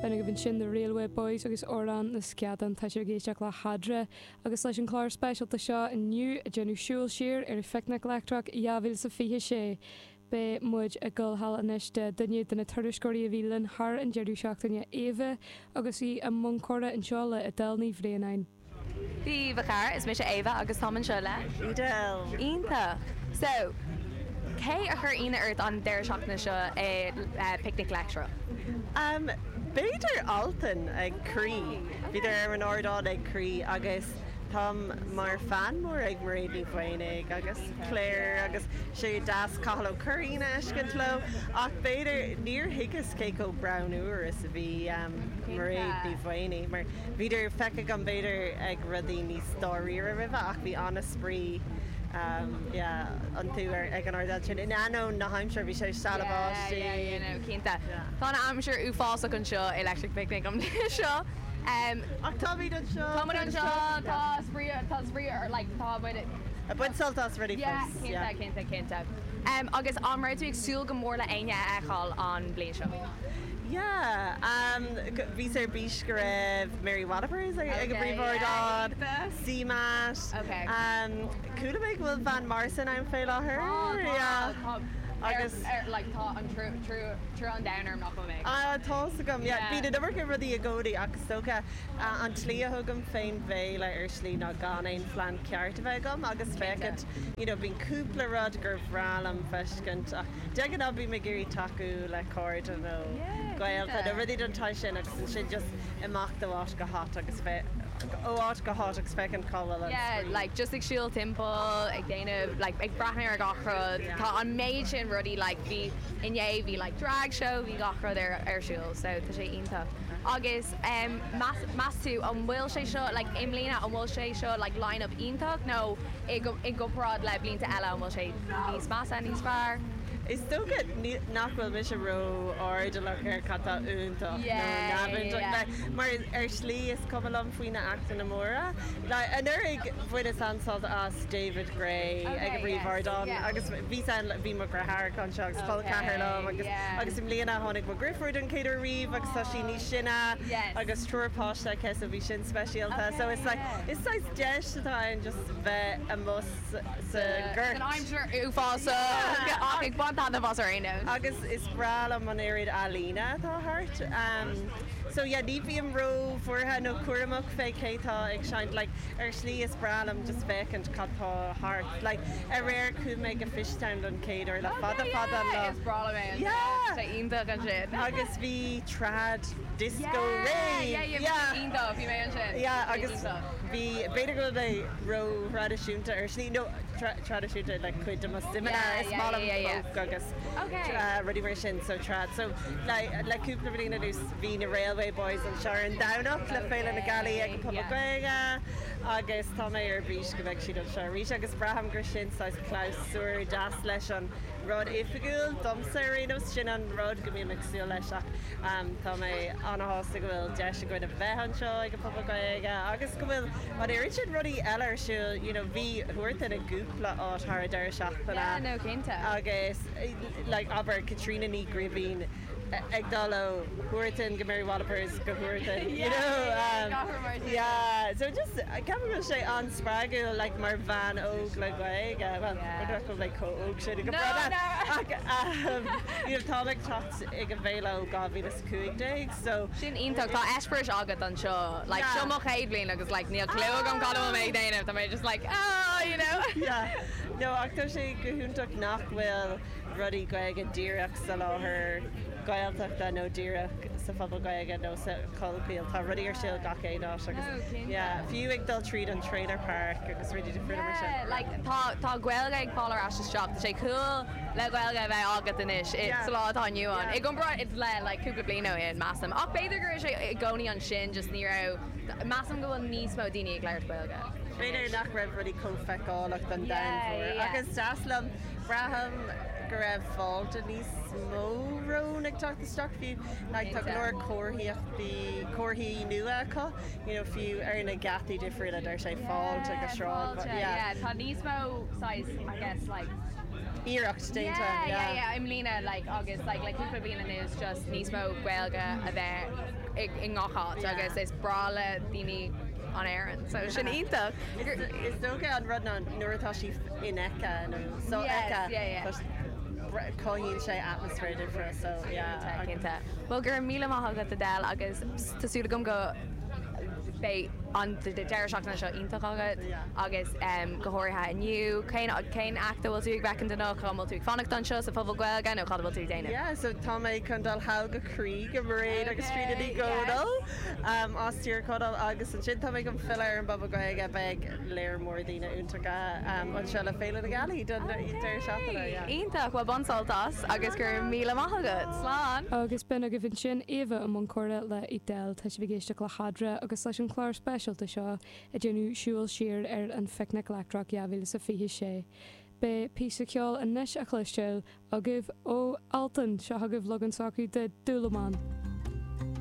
B'in agaibh ansin The Railway Boys agus Amhrán na Sceadán. Tá sibh ag éisteacht le hEadra agus leis an chlár speisialta seo inniu ag déanamh siúl siar ar an Phicnic Leictreach 2026. Beidh muid ag dul thall anois do duine de na tuairisceoirí a bhí linn thar an deireadh seachtaine, Éabha, agus í i mbun comhrá anseo le Edel Ní Bhraonáin. Dia daoibh a chairde, is mise Éabha agus táim anseo le. Edel. Iontach! So, cé a chuir ionadh ort an deireadh seachtaine seo i Picnic Leictreach? Um, b'fhéidir Altan ag Croí. Bhíodar ar an ardán ag Croí agus táim mar fan mór ag Mairéad Ní Mhaonaigh agus Claire agus sé deas Cathal Ó Curraoin a fheiscint leo ach b'fhéidir níor thuigeas cé chomh greannmhar is a bhí Mairéad Ní Mhaonaigh mar bhíodar feicthe agam b'fhéidir ag rudaí níos dáiríre roimhe ach bhí an-spraoi yeah iontu ar ag an ardán sin in ainneoin na haimsire bhí sé stealladh báistí. Yeah, yeah, yeah, no, cinnte. Tá an aimsir uafásach anseo i Electric Picnic an bhliain seo. Ach táimid anseo. Táimid anseo, tá spraoi, tá spraoi ar, like, tá muid. Ag baint sult as rudaí fós. Yeah, cinnte, cinnte, cinnte. Agus an raibh tú ag súil go mór le éinne a fheiceáil an bhliain seo? Yeah, bhíos ar bís go raibh Mary Wallopers ag an bpríomhardán, CMAT. Chuala mé go bhfuil Van Morrison ann fé láthair. Tá, tá, tá. Ar, like, tá an trua an domhain orm nach bhfuil mé ag. Ah, tá's agam, yeah. Bíonn an iomarca rudaí i gcónaí ach is dócha an tslí a thugaim fén bhféile ar shlí ná gan aon phlean ceart a bheith agam agus féachaint, you know, bíonn cúpla rud gur bhreá liom feiscint ach de ghnáth bím ag iarraidh tacú le cairde nó gaolta nó rudaí den tsaghas sin agus ansin just imeacht ó áit go háit agus ó áit go háit agus féachaint cá bhfuil an Yeah, spraoi. like just ag siúl timpeall, ag déanamh, like ag breathnú ar gach rud. Tá an méid sin rudaí, like bhí inné bhí like drag show, bhí gach rud ar ar siúl, so tá sé iontach. Agus em meas meas tú an bhfuil sé seo like i mbliana an bhfuil sé seo like line up iontach nó i i gcomparáid le blianta eile an bhfuil sé níos measa, níos fearr? Is dócha nach bhfuil mise ró-airdeallach ar cad tá iontach nó neamhiontach mar ar shlí is cuma liom faoi na actanna móra. Anuraidh bhaineas an-sult as David Gray ag an bpríomhardán agus bhíos ann, bhí mo dheartháireacha anseo agus col ceathar liom agus agus i mbliana tháinig mo dheirfiúr don chéad uair riamh agus tá sí níos sine agus triúr páiste aici so bhí sin speisialta. So it's like is saghas deis atá ann just bheith amuigh sa ngort. San aimsir uafásach ach ag baint taitneamh as ar aon nós. Agus is breá liom an oiread ealaíne atá thart. So yeah, ní bhím ró-bhuartha nó cúramach fé cé tá ag seinnt. Like, ar shlí is breá liom just féachaint cad tá thart. Like, aréir chuaigh mé go Fishtown don chéad uair le fada fada an lá. Is breá liom é ansin. Yeah! Tá sé iontach ansin. Agus bhí trad disco rave! Yeah, yeah, yeah, bhí sé iontach, bhí mé ansin. Yeah, agus bhí, b'fhéidir go bhfuil mé ró-thraidisiúnta ar shlí, nó traidisiúnta like cuid de mo suimeanna, is maith liom folk agus rudaí mar sin, so trad. So le cúpla bliain anuas bhí na Railway Boys anseo ar an Domhnach le Féile na Gealaí ag an Phuball Gaeilge agus tá mé ar bís go mbeidh siad anseo arís agus braithim gur sin saghas clabhsúr deas leis an rud oifigiúil, domsa ar aon nós, sin an rud go mbím ag súil leis ach tá mé ana-shásta go bhfuil deis againn a bheith anseo ag an Phuball Gaeilge agus go bhfuil an oiread sin rudaí eile ar siúl, you know bhí Huartan i gcúpla áit thar an deireadh seachtaine Yeah, no, cinnte. agus like abair Caitríona Ní Ghribín ag dul ó Huartan go Mary Wallopers go Huartan, you know um yeah so just ceapaim go bhfuil sé an-spreagúil like mar bhean óg le Gaeilge, well nach bhfuil mé chomh óg sin go brona ach um you know táim ag teacht ag an bhféile ó 2015 so Sin iontach, tá eispéireas agat anseo, like seo mo chéad bhliain agus like níl clue agam cad a bhfuil mé ag déanamh, tá mé just like oh you know. Yeah no ach tá sé go hiontach nach bhfuil rudaí Gaeilge díreach sa láthair Gaeltachta nó díreach sa Phuball Gaeilge nó sa Chollchoill. Tá rudaí ar siúl gach aon áit agus yeah, fiú ag dul tríd an trailer park agus rudaí difriúla mar sin. Yeah, like tá tá Gaeilge ag fáil ar ais isteach. Tá sé cool le Gaeilge a bheith agat anois i sa lá atá inniu ann. I gcomparáid le like cúpla bliain ó shin, measaim. Ach b'fhéidir go raibh sé i gcónaí ansin, just ní raibh, measaim go bhfuil níos mó daoine ag labhairt Gaeilge. B'fhéidir nach raibh rudaí chomh feiceálach don domhan mór. Ach is deas liom, braithim go raibh fáilte níos mó romhainn ag teacht isteach fiú. Like tá go leor comharthaíochtaí, comharthaí nua acu, you know, fiú ar na geataí difriúla deir sé fáilte go Sráid. Yeah, tá níos mó saghas, I guess, like. Iarracht déanta, Yeah, yeah, yeah, i mbliana like agus like le cúpla bliain anuas just níos mó Gaeilge a bheith i i ngach áit agus is breá le daoine an Éirinn so sin iontach. Is dócha an rud ná nuair atá sí infheicthe nó sofheicthe Yes, yeah, yeah. cothaíonn sé atmaisféar difriúil so yeah. Cinnte, cinnte. Bhuel go raibh míle maith agat Edel agus tá súil agam go beidh an deireadh seachtaine seo iontach agat agus go háirithe inniu. Cén cén act a bhfuil tú ag feicint anocht? An bhfuil tú ag fanacht anseo sa Phuball Gaeilge nó cad a bhfuil tú ag déanamh? Yeah, so tá mé chun dul thall go Croí go Mairéad agus Tríona Ní Dhomhnaill as Tír Chonaill agus ansin tá mé chun filleadh ar an bPuball Gaeilge. Beidh léar mór daoine iontacha anseo le Féile na Gealaí don deireadh seachtaine. Yeah. Iontach! Bhuel bain sult as agus go raibh míle maith agat. Slán! Agus b'in agaibh ansin Éabha i mbun comhrá le Edel. Tá sibh ag éisteacht le hEadra agus leis an chlár speisialta seo ag déanamh siúl siar ar an Phicnic Leictreach 2026. Beidh píosa ceoil anois á chloisteáil agaibh ó Altan. Seo chugaibh leagan s'acu de Dúlamán.